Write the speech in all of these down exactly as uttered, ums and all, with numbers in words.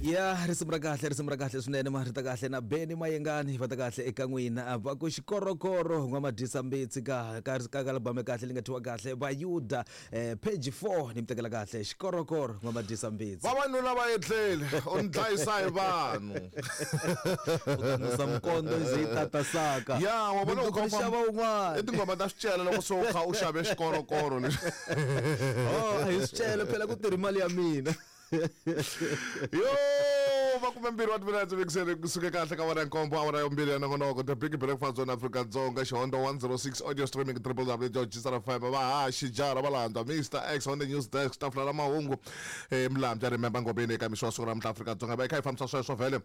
Ya, risimu ra kahle, risimu ra kahle swinene. Ma ri ta kahle na Beni Mayengani, va ta kahle eka n'wina. Va ku Xikorokoro, n'wamadyisa mbitsi, ka ka ka ka album ya kahle leyi nga thyiwa kahle Vayuda, eh, page four. Ni mi tekela kahle Xikorokoro, n'wamadyisa mbitsi. Vavanuna va etlele, u ni dlayisa hi vanhu. U ta nusa mikondo yi ze yi tata saka. Ya, wa vona. Mundzuku ni xava wun'wana. I tinghoma ta swicele loko se u kha u xave xikorokoro lexi. Oh, a hi swicele phela, ku tirhi mali ya mina. Yo, makume mbirhi wa timinetse vikiseni kusuke kahle ka wona nkombo, awara ya mbirhi ya nongonoko The Big Breakfast on Afrika Dzonga, Xihondo one oh six, audio streaming W W W vahaxi jara valandza Mister X on the news desk, tafula ra mahungu, eh, Mlambya Remember Ngobeni. Eka mixo wa siku ra namuntlha, Afrika Dzonga va hi kha hi fambisa sweswo vhele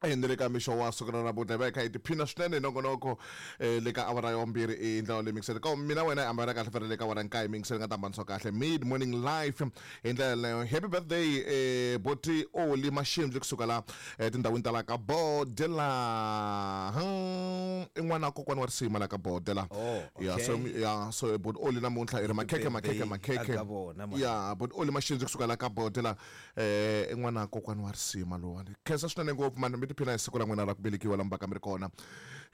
ni le ka mixo wa siku ra namuntlha, va hi kha hi tiphina swinene hi nongonoko eh, le ka awara ya vumbirhi i ndlela leyi mingiseni ka mina wena hi ambala kahle fana le ka awara nkaye mingiseni nga ta hambanisiwa kahle mid morning life hi ndlela yaleyo. Happy birthday, eh, boti Oli Maxindli kusuka la eh, tindhawini ta la ka Bodela. Hmm, i n'wana wa kokwana wa risima la ka Bodela. Oh, Ya. okay. So ya, so bot Oli namuntlha i ri makhekhe, makhekhe, makhekhe. Aka vona, man. Ya, bot Oli Maxindli kusuka la ka Bodela, eh i n'wana wa kokwana wa risima lowani. Khensa swinene ngopfu mani, mi tiphina hi siku ra n'wina ra ku velekiwa la mi ka mi ri kona.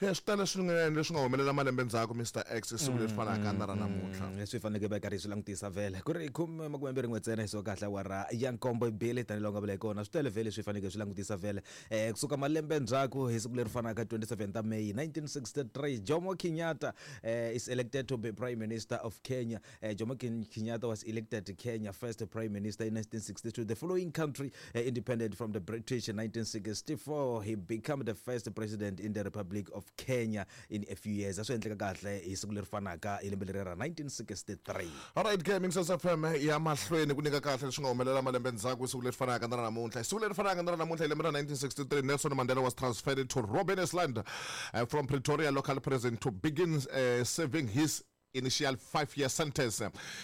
Eh, swi tele swinene leswi nga humelela malembe ndzhaku, Mister X, siku leri fanaka na ra namuntlha. Mm, leswi hi faneleke va karhi hi swi langutisa vhele ku ri khume makume mbirhi n'we ntsena hi so kahle awara ya nkombo bili, tanihiloko nga vula hi kona, swi tele vhele leswi hi faneleke hi swi langutisa vhele um kusuka malembe ndzhaku hi siku leri fanaka, twenty-seven ta May nineteen sixty-three, Jomo Kenyatta uh, is elected to be Prime Minister of Kenya. uh, jomo Ken- kenyatta was elected Kenya first Prime Minister in nineteen sixty-two, the following country uh, independent from the British in nineteen sixty-four. He became the first president in the Republic of Kenya in a few years. A swi endleka kahle hi siku leri fanaka hi lembe leri ra nineteen sixty-three. Alright ke, Mixers F M ya mahlweni ku nyika kahle leswi nga humelela malembe ndzhaku siku leri fanaka na ra namuntlha. Siku leri fanaka na ra namuntlha hi lembe ra nineteen sixty-three, Nelson Mandela was transferred to Robben Island uh, from Pretoria local prison to begin uh, serving his initial five year sentence.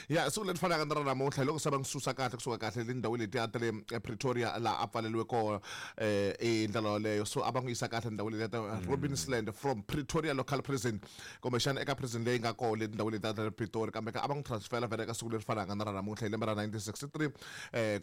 Ya, siku leri fanaka na ra namuntlha hi loko se va n'wi susa kahle kusuka kahle le ndhawini letiya ta le eh, Pretoria laha a pfaleliwe kona eh i ndlela yoleyo. So a va n'wi yisa kahle ndhawini letiya ta Robben Island from Pretoria local prison, kumbexana eka prison leyi nga kona le tindhawini letiya ta le Pretoria, kambe ka a va n'wi transfera vhele eka siku leri fanaka na ra namuntlha hi lembe ra nineteen sixty-three. eh